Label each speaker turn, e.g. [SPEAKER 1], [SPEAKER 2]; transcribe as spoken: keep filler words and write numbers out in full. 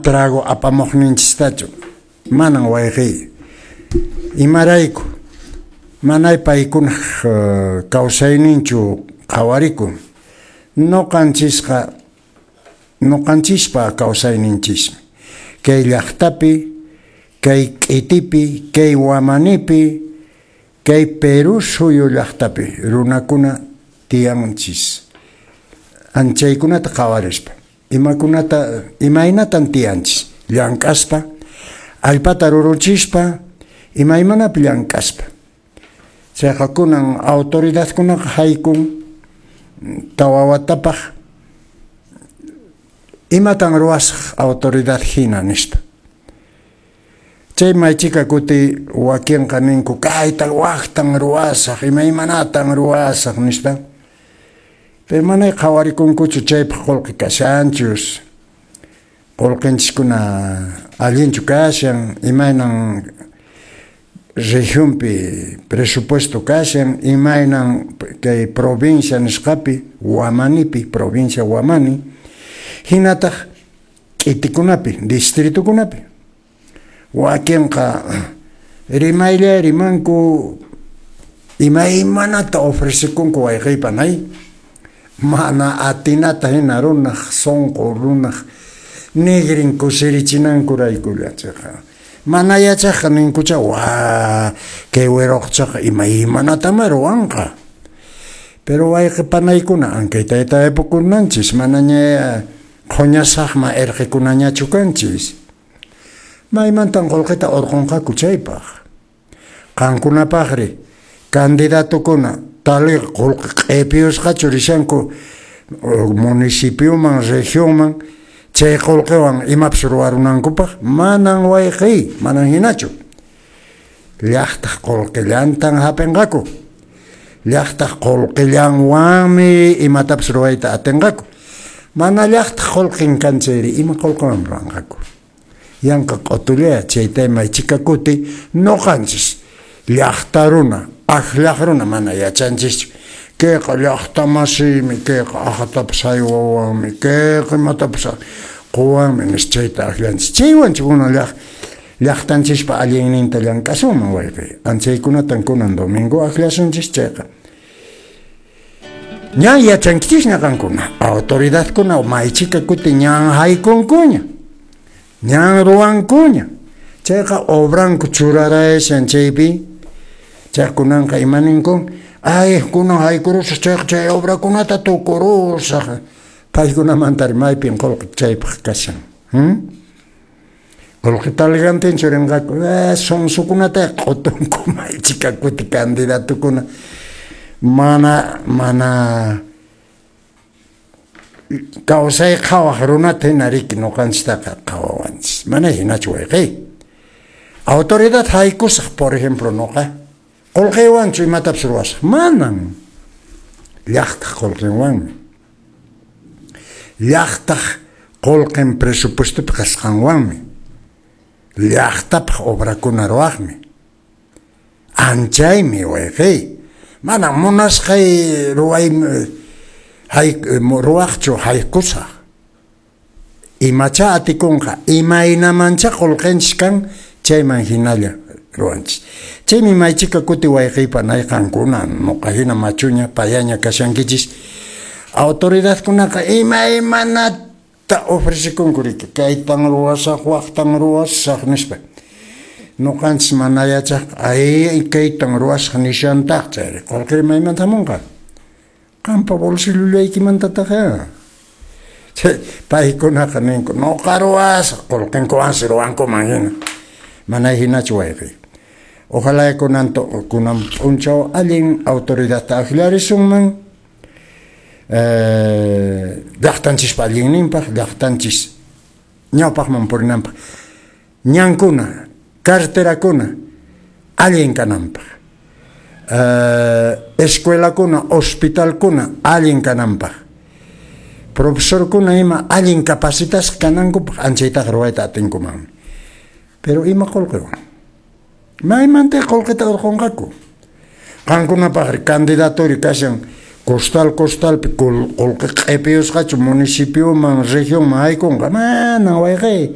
[SPEAKER 1] Trago apamuqninchistachu, manan, wayqiy. Imarayku? Manay paykunaq uh, kawsayninchu qhawarikun, nuqanchisqa nuqanchispa kawsayninchismi kay llaqtapi, kay k'itipi, kay wamanipi, kay Perú suyu llaqtapi runakuna tiyanchis. Anchaykunata qhawarispa, imakunata, imaynatan tiyanchis, llank'aspa, allpata ruruchispa, imaymanapi llank'aspa. Chayqa kunan autoridadkunaqa haykun tawa watapaq, imatan ruwasaq autoridad hina nispa. Chay maychika kuti wakinqa ninku kaytan waqtan ruwasaq, imaymanatan ruwasaq nispa. Pero manay qhawarikunkuchu chaypaq qullqi kashanchus, qullqinchiskuna allinchu kashan, imaynan regionpi presupuesto kashan, imaynan kay provincia nisqapi, Wamanipi, provincia Wamani, hinataq k'itikunapi, distritukunapi. Wakinqa rimaylla rimanku, imaymanata ofrecekunku, wayqiypanay, mana atinata hina runaq sunqu, runaq nigrin kusirichinankuraykulla. Chayqa mana yachaqqa ninkucha, wa kay wiraqchaqa imaymanatama ruwanqa. Pero wayqi panaykuna, ankaytayta yapukunanchis, manaña qhuñasaqma irqikunañachu kanchis. Maymantan qullqita urqunqaku chaypaq? Qankunapaqri, candidatokuna taliqa qullqi q'ipiyusqachu rishanku municipioman, regionman, chay qullqiwan imapas ruwarunankupaq? Manan, wayqiy, manan hinachu. Llaqtaq qullqillantan hap'inqaku, llaqtaq qullqillanwanmi imatapas ruwayta atinqaku. Mana llaqtaq qullqin kan chayri, ima qullqiwan ruwanqaku? Yanqa q'utulla. Chayta maychika kuti nuqanchis llaqta runa, akllaq runa mana yachanchischu. Kayqa llaqta masiymi, kayqa aqhatapas haywawanmi, kayqa imatapas quwanmi nispa chayta akllanchis. Chaywanchu kunan llaq llaqtanchispa allinninta llank'asunman, wayqiy? Anchaykunatan kunan domingo akllasunchis. Chayqa ñan yachankichisña qankuna, autoridadkuna maychika kuti ñan haykunkuña, ñan ruwankuña. Chayqa obranku churarayashan chaypi. Chay kunanqa ima ninkun? Ay, kunan haykurusaq chayqa, chay obrakunata tukurusaq. Paykunamantari maypin qullqi chaypaq kashan? hmm? Qullqi taligantinchu rinqaku? eh, sonsokunata q'utunku maychika kuti candidatukuna. Mana mana kawsay qhawaq runata hina riki nuqanchistaqa qhawawanchis. Mana hinachu, wayqiy. Autoridad haykusaq, por ejemplo, nuqa qullqiywanchu imatapas ruwasaq? Manan, llaqtaq qullqinwanmi, llaqtaq qullqin presupuestopi kasqanwanmi, llaqtapaq obrakuna ruwaqmi. Anchaymi, wayqiy, mana munasqay ruway hay ruwaqchu haykusaq. Imacha atikunqa, imaynamancha qullqinchis kan, chayman hinalla ruwanchis. Chaymi maychika kuti, wayqiypanay, qankuna nuqa hina machuña payaña kashankichis, autoridadkunaqa imaymanata ofrecekunku riki, kaytan ruwasaq, waqtan ruwasaq nispa. Nuqanchis mana yachaq, ay, kaytan ruwasaq nishantaq, chayri qullqiri maymanta hamunqa? Qampa bolsilloykimantataq. Paykunaqa ninku nuqa ruwasaq, qullqinkuwansi ruwankuman hina. Mana hinachu, wayqiy. Ojalá kunan kunan p'unchaw allin autoridadta akllarisunman eh, llaqtanchispa allinninpaq, llaqtanchis ñawpaqman purinanpaq, ñankuna, carreterakuna allin kananpaq, eh, escuelakuna, hospitalkuna allin kananpaq, profesorkuna ima allin capacitasqa kanankupaq. Anchaytaqa ruwayta atinkumanmi. Pero ima qullqiwan? Maymanta qullqita urqunqaku? Qankunapaqri, candidatori kashan costal costalpi, qullqi q'ipiyusqachu municipioman, regionman haykunqa? Manan, wayqiy.